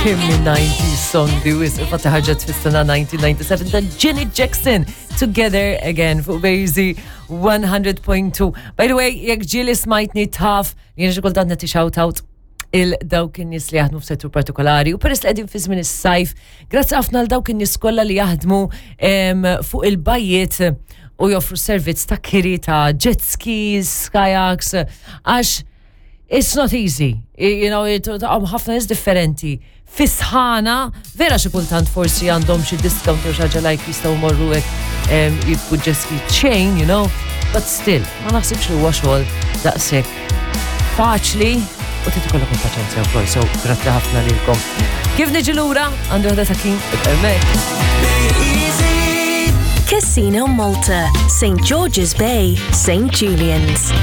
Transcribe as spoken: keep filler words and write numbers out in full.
Kemm nineties song di wis, infatti ħarġet fis-sena nineteen ninety-seven ta' Janet Jackson, Together Again, fuq Bejzi one hundred point two. By the way, jekk ġieli smajtni taf, jien xi kultant nagħti shout out lil dawk in-nies li jaħdmu f'settur partikolari u peress li qegħdin fi żmien is-sajf, grazzi ħafna għal dawk in-nies kollha li jaħdmu em, fuq il-bajjiet u joffru servizz ta' kiri ta' jet skis, kayaks, għax it's not easy. You know, għam ħafna nies differenti. Fis-sħana, vera xi kultant forsi għandhom xi discount jew xi ħaġa, like jistgħu morru hekk em, jibku jet ski chain, you know, but still, ma naħsibx li huwa xogħol daqshekk faċli u trid ikollok il-paċenzja wkoll, so grazzi ħafna lilkom. Kif niġi lura, għandu ħda ta' kien hemmhekk. Casino Malta, Saint George's Bay, Saint Julian's.